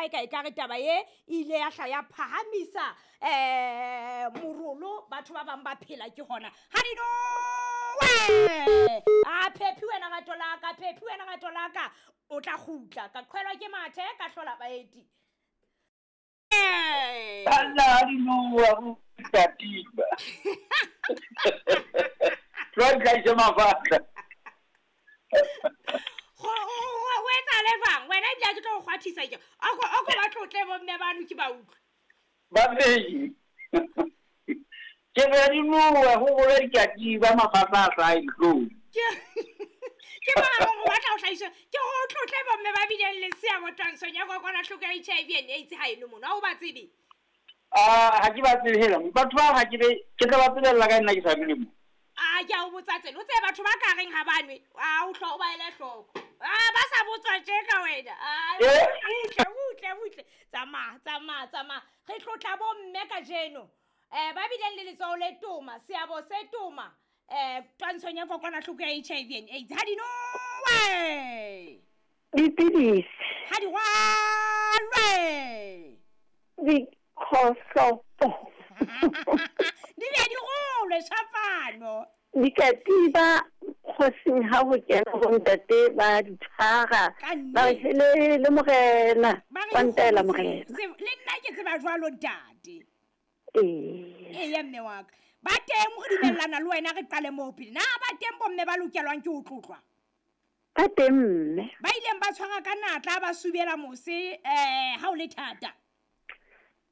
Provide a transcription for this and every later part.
e ka e kare taba e ile ya hla ya phahamisa morolo, batho ba bang ba phela ke hona. Ha di nowe! A phephi wena rato la ka, phephi wena rato la ka, o tla kgutla, ka qhwelwa ke mathe, ka hlola baeti. Banna ha di nowa o tatiba. Tloa ntlhaise mafatla. Go etsahale jwang wena ebile ha ke tlo go kgwathisa ke oko ba tlotle bomme bano ke ba utlwe. Babedi. Ke re di nowa go bole dikatiba mafatla a hlae dihlong. Ke bona gore o batla go tlhaisa ke go tlotle bomme ba bileng le seabo twantshong ya kokwanahloko ya HIV and AIDS ha eno mono, ha o ba tsebe? Ha ke ba tsebe hela, batho ba ha ke be ke tla ba tsebella ka nna ke sa dule mo. A ke a o botsa tsela, o tsebe batho ba ka reng ha ba nwe, a o hlwa o ba ele hloko. A ba sa botswa tje ka wena. A butle butle butle, tsamaya tsamaya tsamaya. Re tlotla bomme kajeno. Ba bileng le letsoho le toma, seabo se toma twantshong ya kokwanahloko ya HIV and AIDS. Ha di nowe! Dipidisi. Ha di rwalwe! Dikgohlopo. Di be di rolwe shapano. Dikatiba kgosing ha ho kena bontate ba di tshwara. Ba re hele le morena, Ba wa re ntaela dikgomo morena. Le nna ke tseba jwalo ntate. Ee. Eya mme wa ka. Ba teng re dumellana le wena re qale moo pele. Na ba teng bomme ba lokelwang ke ho tlotlwa? Ba teng mme. Ba ileng ba tshwara ka natla ba subela mose ha o le thata.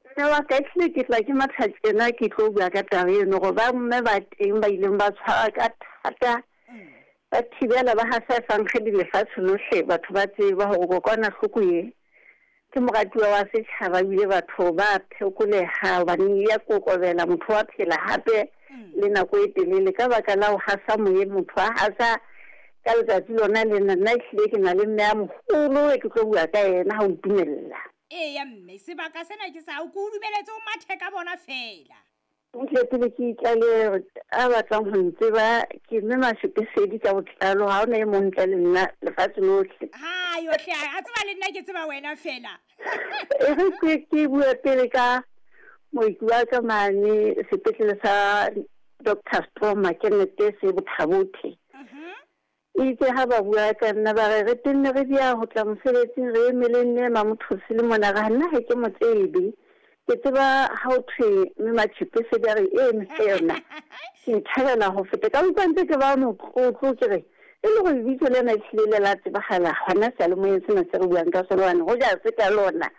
Mme wa ka ehlile ke tla ke matha tjena ke tlo bua ka taba eno gore ba mme ba teng ba ileng ba tshwara ka thata ba thibela ba hasa efankgedi lefatshe lohle batho ba tseba hore kokwanahloko e ke moratuwa wa setjhaba ebile batho ba phekoleha hobane ya kokobela motho wa phela hape le nako e telele ka baka la ho hasa moyeng motho a hasa ka letsatsi lona lena. Nna ehlile ke na le mme a moholo e ke tlo bua ka yena ha o ntumella. Eya mme, sebaka sena ke sa hao, ke o dumeletse o mathe ka bona fela. Ntle pele ke itlalehe a batlang ho ntseba ke mme Mashepesedi ka botlalo, ha hona e mong ntle le nna lefatshe lohle. Ha yohle a tseba le nna ke tseba wena fela. E re ke bue pele ka mooki wa ka mane sepetlele sa Dr. Stroma ke nete se Bothabothe. Itse ha ba bua ka nna ba re re tenne re dia ho tla mosebetsing re emele nne Mamothosi le mona ra nna ha ke mo tsebe. Ke tseba ha o thwe mme Mashepesedi a re e mme yona. Ke ithabela ho feta ka utlwa ntse ke ba motlotlo ke re e le gore lebitso lena ehlile le la tsebahala hona seyalemoyeng sena se re buang ka sona hobane hoja se ka lona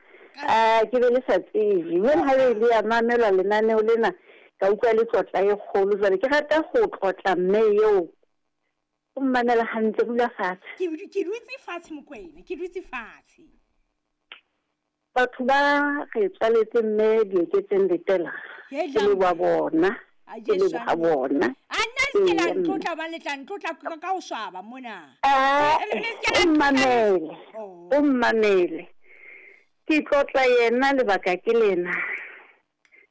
ke be le sa tsebe. Jwale ha le ya mamelwa lenaneo lena ka utlwa le tlotla e kgolo. Jwale ke rata ho tlotla mme eo o mmamela hantle, dula fatshe. Ke dutse fatshe Mokwena, ke dutse fatshe. Batho ba re tswaletse mme Dieketseng Letela, ke leboha bona, ke leboha bona. A nna le se ke la ntlotla hobane le tla ntlotla ka ho swaba mona. O mmamele, o mmamele. Ke tlotla yena lebaka ke lena.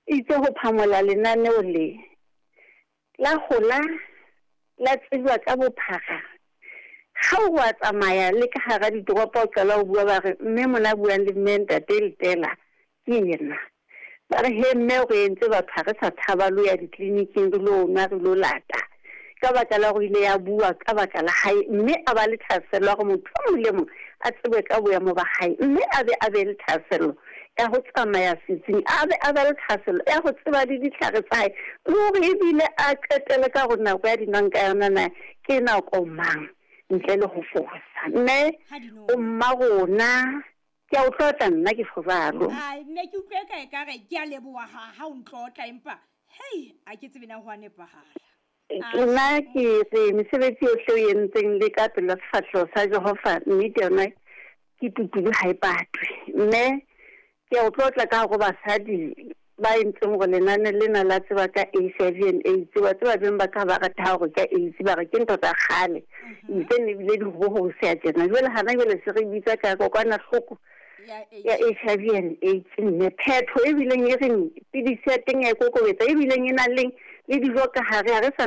Itse ho phamola lenaneo le la hola la tsejwa ka bophara. Ha o wa tsamaya le ka hara ditoropo o qala ho bua ba re mme mona buang le mme ntate Letela ke yena. Ba re he mme o re entse batho ha re sa tshaba lo ya ditleliniking re lo nwa re lo lata. Ka baka la hore ile ya bua ka baka la hae mme a ba le thahasello ya hore motho o mong le mong a tsebe ka boemo ba hae mme a be a be le thahasello ya ho tsamaya setsing, a be a be le thahasello ya ho tseba le ditlhare tsa hae le hore ebile a qetele ka hore nako ya dinwang ka yona na ke nako mang ntle le ho fosa. Mme o mma rona ke a o tlotla nna ke tjho jwalo. Ai mme ke utlwe ka ekare ke a leboha ha o ntlotla empa hei a ke tsebe na ho a nepahala. Nna ke re mesebetsi yohle o entseng le ka pela sefahleho sa Jehova nnete yona ke tutulu ha e patwe. Mme ke a o tlotla ka hore basadi ba entseng hore lenane lena la tseba ka HIV and AIDS, wa tseba beng ba ka ba rata hore ka AIDS ba re ke ntho tsa kgale ntse ne bile di ho se a tjena. Jwale hana jwale se re bitsa ka kokwanahloko ya HIV and AIDS. Mme phetho e bileng e reng pidisi ya teng ya e kokobetsa e bileng e nang le dijo ka hare, ha re sa